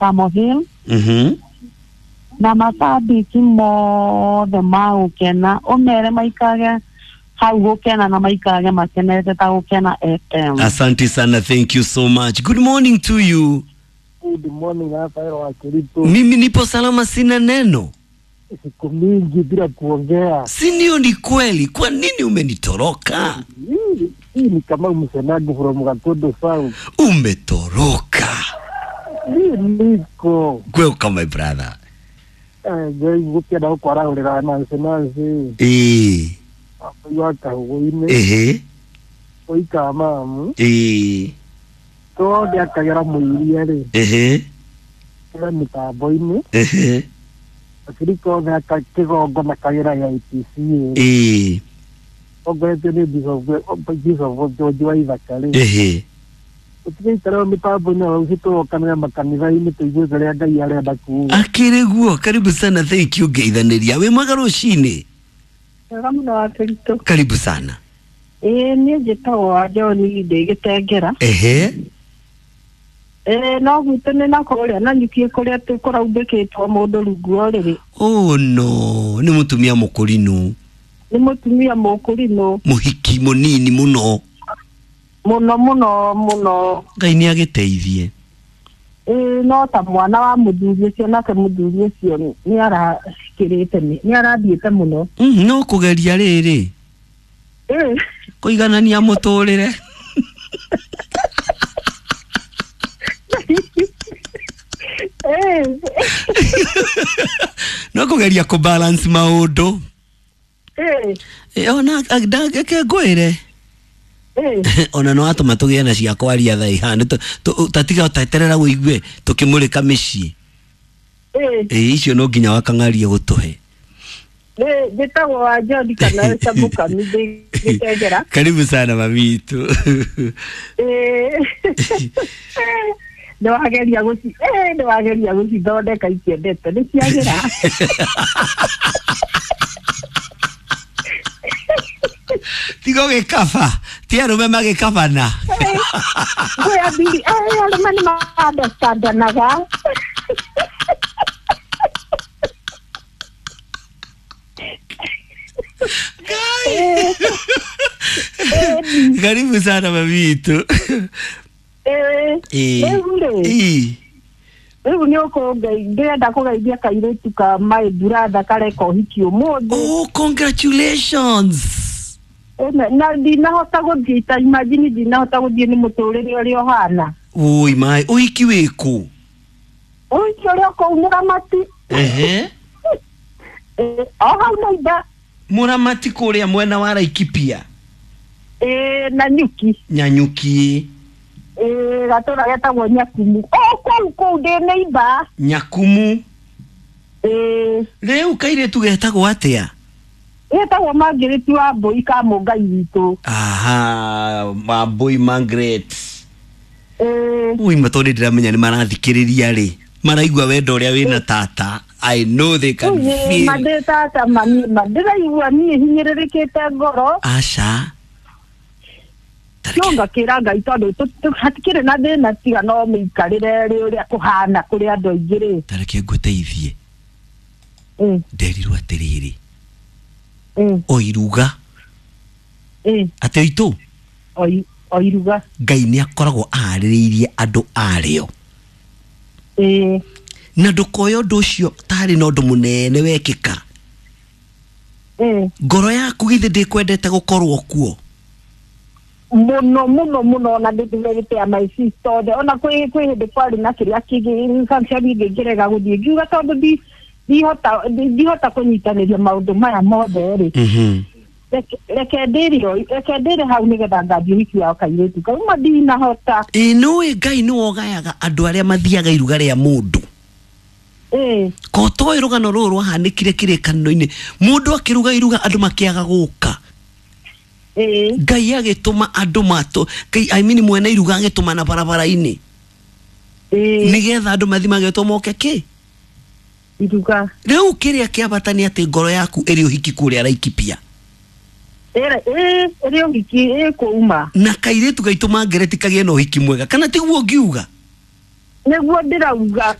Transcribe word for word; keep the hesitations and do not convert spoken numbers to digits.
Kamo Hill Mhm. na macambĩki mothe ma gũkena ũmere maikarage hau gũkena na maikarage makenete ta Gũkena F M. Asante sana, thank you so much. Good morning to you. Good morning, hapa wa Kericho. Mimi nipo salama, sina neno. Siku mingi bila kuongea. Si ndio? Ni kweli. Kwa nini umenitoroka? Hii hii ni kama msenago from Gatodo South. Umetoroka. Hii niko. Welcome my brother. Eh, ngai gukenda gukwarahurira Nancy Nancy. Eh. Wa kahuguine. Ehe. Oika mamu. Eh. Tondũ akagera mũiria rĩ. Ehe. Kĩra mĩtambo-inĩ. Ehe. Abirika othe aka kĩgongo na kagera ya I P C. Eh. Ongoretio nĩ Bishop Bishop George wa Ithaka rĩ. Ehe. Tũtigaikara mĩtambo-inĩ o tũrokanĩra makanitha-inĩ tũigue kĩrĩa Ngai arenda kuuga. Akĩrĩ guo, karibu sana, thank you ngeithanĩria. Wĩ mwega rũcinĩ? Wega mũno wa Kericho. Karibu sana. Ĩĩ niĩ njĩtagwo wa John ndĩ Gĩtengera. Ehe. Ĩĩ no gwitũ nĩ na kũrĩa na nyuki kũrĩa kũraumbĩkĩtwo mũndũ rungu wa ũrĩrĩ. Oh no, nĩ mũtumia mũkũrinũ. Nĩ mũtumia mũkũrinũ. Mũhiki mũnini mũno. Mũno mũno mũno. Ngai nĩ agĩteithie. Ĩĩ no ta mwana wa mũthuri ũcio nake mũthuri ũcio nĩ arakĩrĩte nĩ arathiĩte mũno. Mm, no kũgeria rĩrĩ. Ĩĩ. Kũiganania mũtũrĩre. Ĩĩ. No kũgeria kũ balance maũndũ. Ĩĩ. Ĩ ona ndangĩke ngwĩre. Ĩĩ. Ona no atũma tũgĩe na cia kwaria thaa ihana tatiga ũteterera wĩigue tũkĩmũrĩka mĩciĩ. Ĩĩ. Ĩ icio no nginya wakang'aria gũtũhe. Ĩ njĩtagwo wa John kana Camũkami ndĩ Gĩtengera. Karibu sana mami witũ. Ĩĩ. Nĩ wageria gũci ĩĩ nĩ wageria gũcithondeka itiendete nĩ ciagĩra. Tiga gĩkaba ti arũme magĩkabana. Kwĩ athuri ĩĩ arũme nĩ ma-understandanaga. Ngai. Karibu sana mami witũ. Ĩĩ. Rĩu rĩ. Ĩĩ. Rĩu nĩ ũkũngeithia ndĩrenda kũgeithia kairĩtu ka my brother kareka ũhiki ũmũthĩ. Oh, congratulations. Na ndinahota gũthiĩ ta imagine ndinahota gũthiĩ nĩ mũtũrĩre ũrĩa ũhana. Oi mai, ũhiki wĩkũ? Ũhiki ũrĩa kũu Mũramati. Ehe. O hau neighbor. Mũramati kũrĩa mwena wa Laikipia. Ĩĩ na Nyuki. Nyanyuki. Ĩĩ gatũra getagwo Nyakumu. O kũu kũu ndĩ neighbor. Nyakumu. Ĩĩ. Rĩu kairĩtu getagwo atĩa? Getagwo Margaret wa Mbũi ka Mũngai witũ. Aha, Wambũi Margaret. Ĩĩ. Ui matũ ndĩramenya nĩ marathikĩrĩria rĩ. Maraigua wendo ũrĩa wĩna tata. I know they can feel. Mandĩ tata mami ndĩraigua niĩ hinyĩrĩrĩkĩte ngoro. Aca. No ngakĩra Ngai tondũ hatikĩrĩ na thĩna tiga no mĩikarĩre rĩ ũrĩa kũhana kũrĩ andũ aingĩ rĩ. Ta reke ngũteithie. Nderirwo atĩrĩrĩ. O iruga. Atĩ itũ. O iruga. Ngai nĩ akoragwo aharĩrĩirie andũ arĩo. Ĩĩ. Na ndũkoe ũndũ ũcio tarĩ na ũndũ mũnene wekĩka. Ĩĩ. Ngoro yaku githĩ ndĩkwendete gũkorwo kuo? Mũno mũno mũno ona ndĩrĩte my sister othe ona kwĩ kwĩ hĩndĩ kwarĩ na kĩrĩa kĩngĩ function ĩngĩ ngĩrega gũthiĩ ngiuga tondũ ndi ndihota ndihota kũnyitanĩria maũndũ maya mothe rĩ. Reke ndĩrĩ reke ndĩrĩ hau nĩgetha ngathiĩ ũhiki wa kairĩtu kau ma ndinahota. Ĩ nĩũĩ Ngai nĩwe ũgayaga andũ arĩa mathiaga iruga rĩa mũndũ. Ĩĩ. Ko toĩ rũgano rũrũ rwahanĩkire kĩrĩkanĩro-inĩ mũndũ akĩruga iruga andũ makĩaga gũka. Ĩĩ. Ngai agĩtũma andũ matũ Ngai I mean mwene iruga agĩtũma na barabara-inĩ. Ĩĩ. Nĩgetha andũ mathi magetwo moke kĩ? Iruga. Rĩu kĩrĩa kĩa bata nĩ atĩ ngoro yaku ĩrĩ ũhiki kũrĩa Laikipia. Ĩrĩ ĩĩ ĩrĩ ũhiki ĩkũuma. Na kairĩtu gaitũ Margaret kagĩe na ũhiki mwega kana tiguo ngiuga? Nĩguo ndĩrauga.